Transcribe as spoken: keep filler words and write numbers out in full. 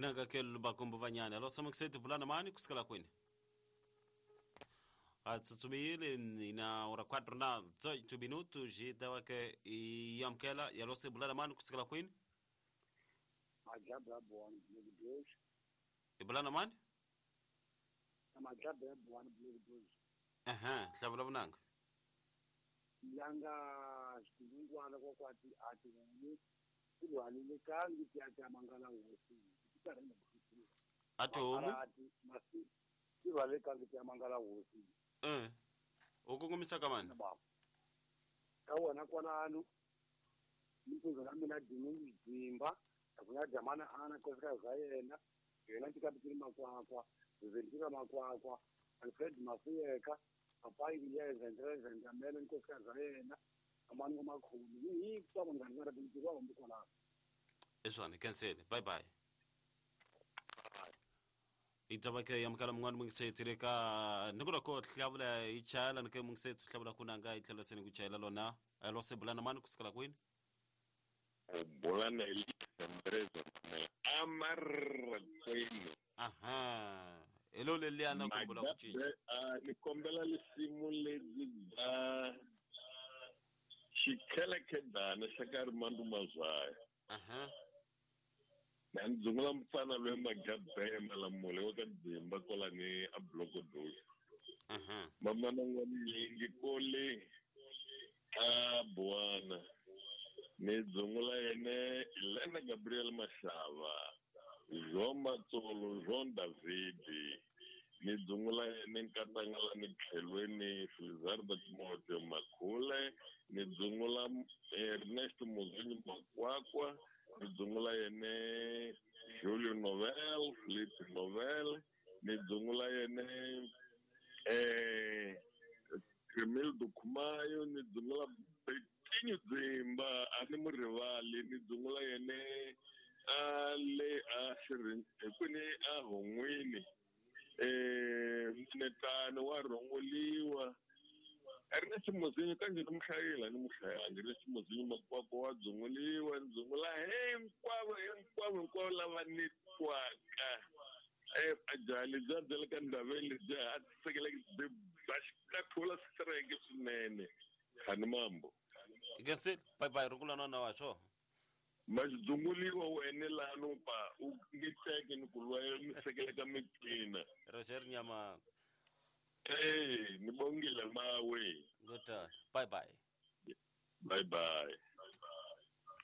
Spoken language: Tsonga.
Inanga ke lubakombo vanyana. Alo samaksetu bulana mani kusikala kwini. Atsutsumile ina ora quatro na dezoito minutos e dawa ke yamkela yalose bulana mani kusikala kwini. Majabra bwana blogo dois. E bulana mani? Majabra bwana blogo dois. Aha, hlabula bunanga. Yanga xilungwana kwa kwati ati ni kulwalile kangi tiya mangala hosi. Ati homu? Ati masi kulwalile kangi tiya mangala hosi. Eh. Ukungumisa kamani? Ka wona kwalano. Mpuzo la mina dingi dzimba, akuya jamana ana kosika za yena, yena tikapitiri makwakwa, zendira makwakwa, Alfred Mafuyeka. Papai yeza ndreza ndamele nkosikazi yena amani ngomakhulu yi kuba ngani ngara bintu kwa mbukona eswana cancel bye bye itabake yamkala mngani mungisetireka nikura ko hlabula ichala nike mungisethu hlabula kunanga itlhela sene kuchayela lona alose bulana mani kusikala kwini bulana ndreza amarra kwini aha elo leliana kumbula kuchinja ni kombela lisimu ledzi bya xikhelekhedana xa ka Rimandu Mazwaya aha na ndzungula mfana loyi Magabhe Malamule wa ka Dzimba kwalani a Blogo Dosi aha mamana n'wanyingi kole a Buwana ni dzungula yene Elena Gabriel Mashava Jean Matsolo Jean David ni dzungula yene nkatangala ni tlhelweni Felizardo Timoteo Makhule ni dzungula Ernest Muzini Makwakwa ni dzungula yene Julio Novel Felipe Novel ni dzungula yene eh Cremildo Kumayo ni dzungula Betinho Dzimba a ni murivali ni dzungula yene a le a xirin kwini a hon'wini eh mnetano wa rhongoliwa Ernest Muzinyo kanje ni muhlayela ni muhlayangi Ernest Muzinyo Makwakwa wa dzunguliwa ndzungula hinkwavo hinkwavo hinkwavo lava ni twaka eh ajali bya byela ka ndhaveni lebyi a tisekeleke byi bya xikathula sireke swinene khani mambo ikensel bye bye rungula na wa swo Mazidzunguliwa wene lano pa u nge teke ni ku lwa mi sekeleka miqina Roger Nyama eh ni bongile mawe good bye bye bye bye.